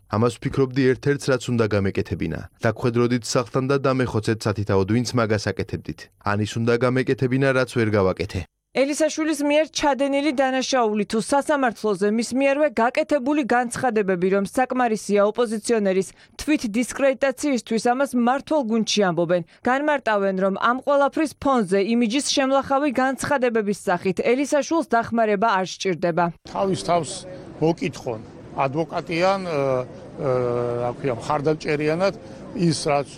ამას ვფიქრობდი ერთ-ერთს, რაც უნდა გამეკეთებინა. დაგვხედროდით სახლთან და დამეხოცეთ სათითაოდ, ვინც მაგას აკეთებდით. ანის უნდა გამეკეთებინა, რაც ვერ გავაკეთე. ელისაშვილის მიერ ჩადენილი დანაშაული თუ სასამართლოზე მის მიერვე გაკეთებული განცხადებები, რომ საკმარისია ოპოზიციონერის თვით დისკრედიტაციისთვის ამას მართულ გუნდში ამბობენ. განმარტავენ, რომ ამ ყველაფრის ფონზე იმიჯის შემლახავი განცხადებების სახით ელისაშვილს დახმარება არ სჭირდება. თავის თავს მოკითხონ ადვოკატიან, მხარდამჭერიანად ის რაც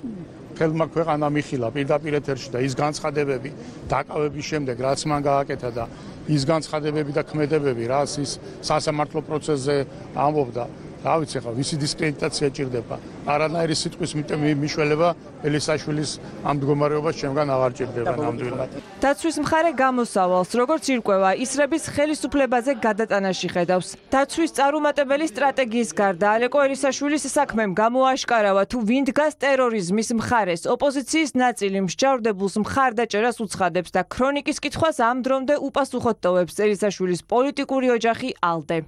ხელმა ქვეყანა მიხილა პირდაპირ ეთერში და ის განცხადებები დაკავების შემდეგ რაც მან გააკეთა და ის განცხადებები და ქმედებები რაც ის სასამართლო პროცესზე ამბობდა რა ვიცი ხა ვისი დისკრედიტაცია ჭირდება არანაირი სიტყვის მიშველება ელისაშვილის ამ მდგომარეობას ჩემგან აღარ ჭირდება ნამდვილად. დაცვის მხარე გამოსავალს როგორც ირკვევა ისრების ხელისუფლებაზე გადატანაში ხედავს. დაცვის წარუმატებელი სტრატეგიის გარდა ალეკო ელისაშვილის საქმემ გამოაშკარავა თუ ვინ დგას ტერორიზმის მხარეს. ოპოზიციის ნაწილი მსჯავრდებულს მხარდაჭერას უცხადებს და ქრონიკის კითხვას ამ დრომდე უპასუხოდ ტოვებს ელისაშვილის პოლიტიკური ოჯახი ალდე.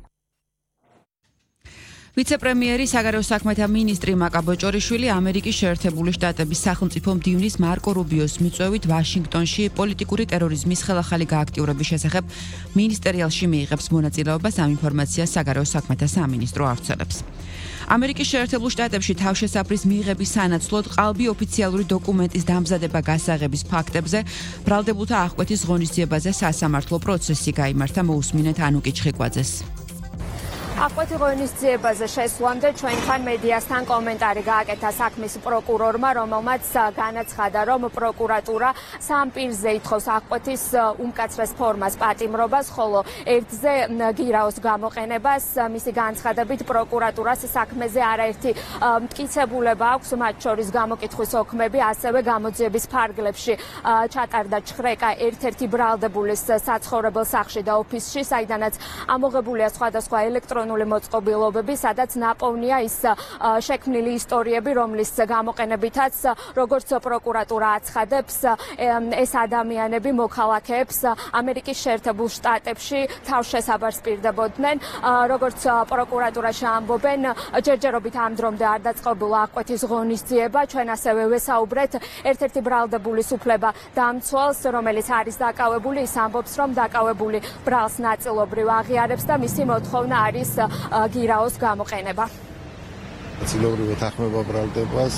ვიცე-პრემიერი საგარეო საქმეთა მინისტრი მაკა ბოჭორიშვილი ამერიკის შეერთებული შტატების სახელმწიფო მდივნის მარკო რუბიოს მიწვევით ვაშინგტონში პოლიტიკური ტერორიზმის ხელახალი გააქტიურების შესახებ მინისტერიალში მიიღებს მონაწილეობას. ამ ინფორმაციას საგარეო საქმეთა სამინისტრო ავრცელებს. ამერიკის შეერთებულ შტატებში თავშესაფრის მიღების სანაცვლოდ ყალბი ოფიციალური დოკუმენტის დამზადება გასაღების ფაქტებზე ბრალდებულთა აღკვეთის ღონისძიებაზე სასამართლო პროცესი გაიმართა. მოусმინეთ ანუკი ჩხიკვაძეს. აღკვეთი ღონისძიებაზე შესვლამდე ჩვენთან მედიასთან კომენტარი გააკეთა საქმის პროკურორმა, რომელმაც განაცხადა, რომ პროკურატურა სამ პირზე ითხოვს აღკვეთის უმკაცრეს ფორმას პატიმრობას, ხოლო ერთზე გირაოს გამოყენებას. მისი განცხადებით პროკურატურას საქმეზე არაერთი მტკიცებულება აქვს, მათ შორის გამოკითხვის ოქმები, ასევე გამოძიების ფარგლებში ჩატარდა ჩხრეკა ერთ-ერთი ბრალდებულის საცხოვრებელ სახლში და ოფისში, საიდანაც ამოღებულია სხვადასხვა ელექტრონული მოწყობილობები, სადაც ნაპოვნია ის შექმნილი ისტორიები, რომლის გამოყენებითაც როგორც პროკურატურა აცხადებს, ეს ადამიანები მოქალაქეებს ამერიკის შეერთებულ შტატებში თავშესაფარს პირდებოდნენ. როგორც პროკურატურაში ამბობენ, ჯერჯერობით ამ დრომდე არ დაწყებულა აღკვეთის ღონისძიება. ჩვენ ასევე ვესაუბრეთ ერთ-ერთი ბრალდებულის უფლება დამცველს, რომელიც არის დაკავებული, ის ამბობს, რომ დაკავებული ბრალს ნაწილობრივ აღიარებს და მისი მოთხოვნა არის გირაოს გამოყენება. ნაწილობრივ ეთანხმება ბრალდებას,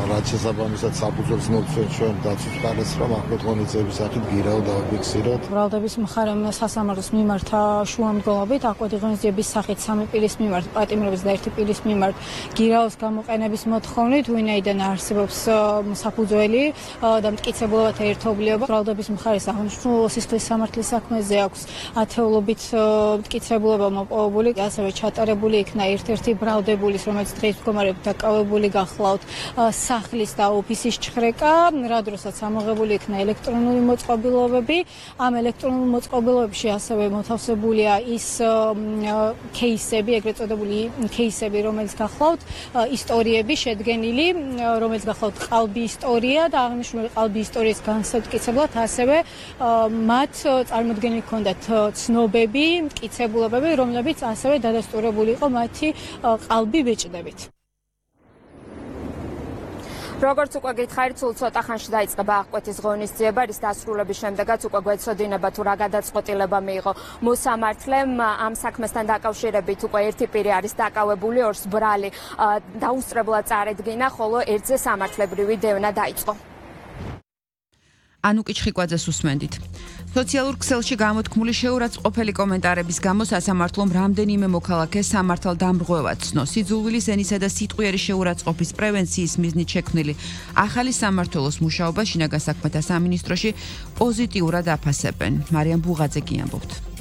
რაც შესაბამისად საფუძველს მოგცემ ჩვენ დაცვის მხარეს, რომ აღკვეთ ღონისძიების სახით გირაო დავაფიქსიროთ. ბრალდების მხარემ სასამართლოს მიმართა შუამდგომობით აღკვეთი ღონისძიების სახით სამი პირის მიმართ პატიმრობის და ერთი პირის მიმართ გირაოს გამოყენების მოთხოვნით, ვინაიდან არსებობს საფუძველი და მტკიცებულებათა ერთობლიობა. ბრალდების მხარეს აღნიშნულ სისხლის სამართლის საქმეზე აქვს ათეულობით მტკიცებულება მოპოვებული, ასევე ჩატარებული იქნა ერთ-ერთი ბრალდებულის, რომელიც დღეს მდგომარეობით დაკავებული გახლავთ სახლის და ოფისის ჩხრეკა, რა დროსაც ამოღებული იქნა ელექტრონული მოწყობილობები. ამ ელექტრონულ მოწყობილობებში ასევე მოთავსებულია ის кейსები, ეგრეთ წოდებული кейსები, რომელიც გახლავთ ისტორიები შედგენილი, რომელიც გახლავთ ყალბი ისტორია და აღნიშნული ყალბი ისტორიის განსაკუთრებით ასევე მათ წარმოდგენილი ჰქონდათ ცნობები, მტკიცებულებები, რომლებიც ასევე დადასტურებული იყო მათი ყალბი ბეჭდებით. როგორც უკვე გითხარით, სულ ცოტა ხანში დაიწყება აღკვეთის ღონისძიება, რის დასრულების შემდეგაც უკვე გვეცოდინება თუ რა გადაწყვეტილება მიიღო მოსამართლემ. ამ საქმესთან დაკავშირებით უკვე ერთი პირი არის დაკავებული, ორს ბრალი დაუსწრებლად წარედგინა, ხოლო ერთზე სამართლებრივი დევნა დაიწყო. ანუკი ჩხიკვაძეს უსმენდით. სოციალურ ქსელში გამოთქმული შეურაცხყოფელი კომენტარების გამო სასამართლომ რამდენიმე მოქალაქეს სამართალდამრღვევად ცნო. სიძულვილის ენისა და სიტყვიერი შეურაცხყოფის პრევენციის მიზნით შექმნილი ახალი სამმართველოს მუშაობა შინაგან საქმეთა სამინისტროში პოზიტიურად აფასებენ. მარიამ ბუღაძე კი ამბობთ.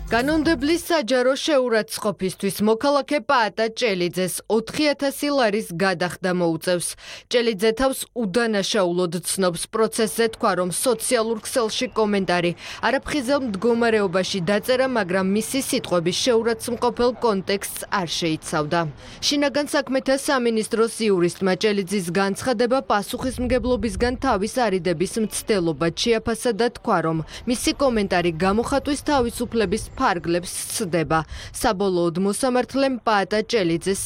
კანონმდებლის საჯარო შეურაცხყოფისთვის მოქალაქე პაატა ჭელიძეს 4000 ლარის გადახდა მოუწევს. ჭელიძე თავს უდანაშაულოდ ცნობს. პროცესზე თქვა, რომ სოციალურ ქსელში კომენტარი არაფხიზელ მდგომარეობაში დაწერა, მაგრამ მისი სიტყვების შეურაცხმყოფელ კონტექსტს არ შეიცავდა. შინაგან საქმეთა სამინისტროს იურისტმა ჭელიძის განცხადება პასუხისმგებლობისგან თავის არიდების მცდელობად შეაფასა და თქვა, რომ მისი კომენტარი გამოხატვის თავისუფლების ფარგლებს სცდება. საბოლოოდ მოსამართლემ პაატა ჭელიძეს